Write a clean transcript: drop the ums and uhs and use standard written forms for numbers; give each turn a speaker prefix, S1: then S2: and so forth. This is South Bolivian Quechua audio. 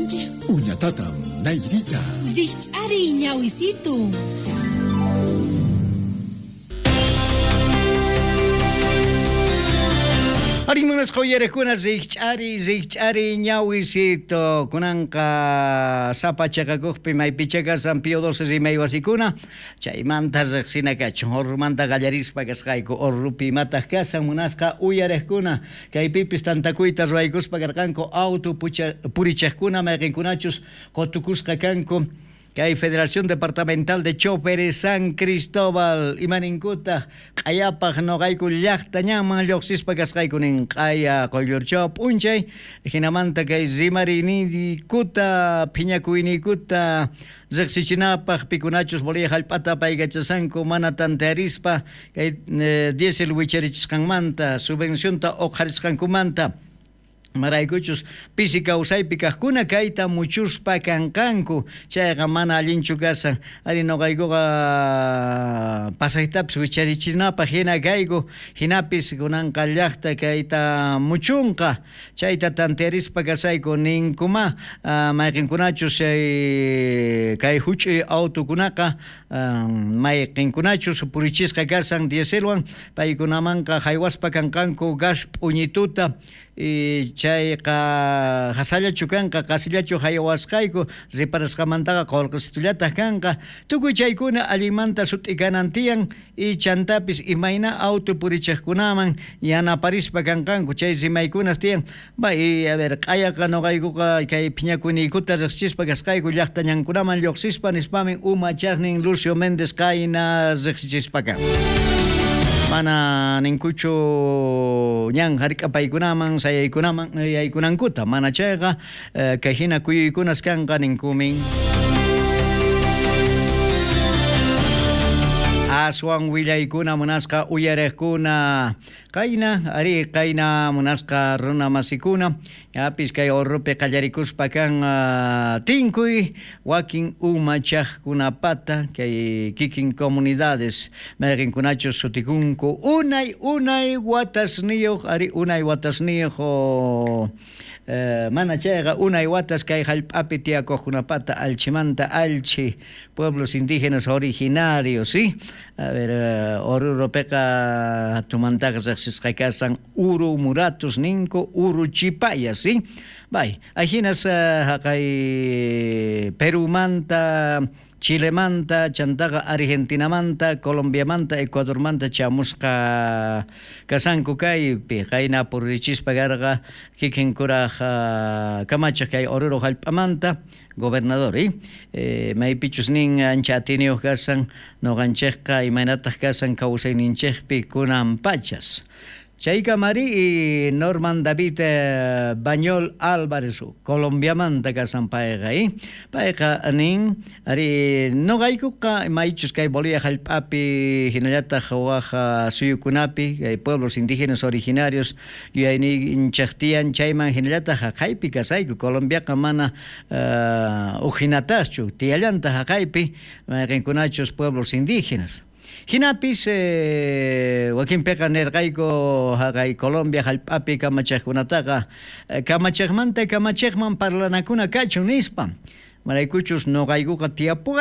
S1: Kanchik.
S2: Uñatatam Nairita.
S1: Rikch'ariy ñawisitu.
S3: Arí munasqa uyarijkuna rikch'ariy rikch'ariy ñawisito kunanqa sapa chaqakuqpi maypicha kasan Pío XII rimay wasikuna chaymanta riqsina kachun Orrumanta qallarispa kasqayku Orrupi imataq kasan munasqa uyariqkuna kaypipis tantakuyta ruwaykuspa karqanku auto purichaqkuna mayqinkunachus qutukusqa kanku kay Federación Departamental de Choferes San Cristóbal imaninkutaq q'ayapaq noqayku llaqta ñanman lluqsispa kasqayku nin q'aya quyllurchaw p'unchay jinamanta kay rimariniykuta phiñakuyniykuta riqsichinapaq pikunachus Bolivia hallp'ata paykachasanku mana tantearispa kay diésel wicharichisqanmanta subvencionta uqharisqankumanta maraykuchus pisi kawsaypi kaqkuna kayta muchuspa kanqanku chayqa mana allinchu kasan ari noqaykuqa pasaytapis wicharichinapaq hina kayku hinapis kunanqa llaqta kayta muchunqa chayta tantearispa kasayku ninkuma mayqinkunachus chay kay huch'uy autokunaqa mayqinkunachus purichisqa kasan dieselwan paykunamanqa haywaspa kanqanku gas p'uñituta chayqa hasallachu kanqa qasillachu haywasqayku reparasqamantaqa qullqisitullataq kanqa tukuy chaykuna allinmanta sut'i kanan tiyan y chantapis imayna auto purichiqkunaman yanaparispa kanqanku chay rimaykunas tiyan bay a ver q'ayaqa noqaykuqa kay phiñakuyniykuta riqsichispa kasqayku llaqta ñankunaman lluqsispa nispamin umachaqnin Lucio Méndez qayna riqsichispa kan. Mana ninkuchu ñan hark'apaykunaman sayaykunaman yaykunankuta mana chayqa kay hina kuyuykunas kanqa ninkumin. Aswan willaykuna munasqa uyariqkuna qayna ari qayna munasqa runa masikuna yapis kay Orrupi qallarikuspa kan tinkuy wakin umachaqkunapata kay kikin comunidades mayqinkunachus sutikunku unay unay watasniyuq ari unay watasniyuq mana chayqa unay watas kay hallp'api tiyakuqkunapata alchimanta alchi pueblos indígenas originarios, ¿sí? A ver, Oruropiqa tumantaqa riqsisqa kasan Uru Muratus ninku Uru Chipaya, ¿sí? Bay, ahinas haqay Perumanta, Chilemanta, chantaqa Argentinamanta, Colombiamanta, Ecuadormanta chamusqa kasanku kaypi qayna purichispa karqa kikin kuraj kamachaq kay Oruro hallp'amanta gobernador, maypichus nin ancha atiniyuq kasan noqanchikqa imaynataq kasan kawsayninchikpi kunan pachas. Chaykamari Norman David Bañol Álvarez Colombiamanta kasan payqa, payqa nin ari noqaykuqa maychus kay Bolivia hallp'api hinallataq waj suyukunapi kay pueblos indígenas originarios yuyayninchik tiyan chayman hinallataq haqaypi kasayku Colombiaqa mana ujinataqchu tiyallantaq haqaypi mayqinkunachus pueblos indígenas. Hinapis wakinpiqa nirqayku haqay Colombia hallp'api kamachaqkunataqa kamachaqmanta kamachaqman parlanakuna kachun nispa maraykuchus noqaykuqa tiyapuqay.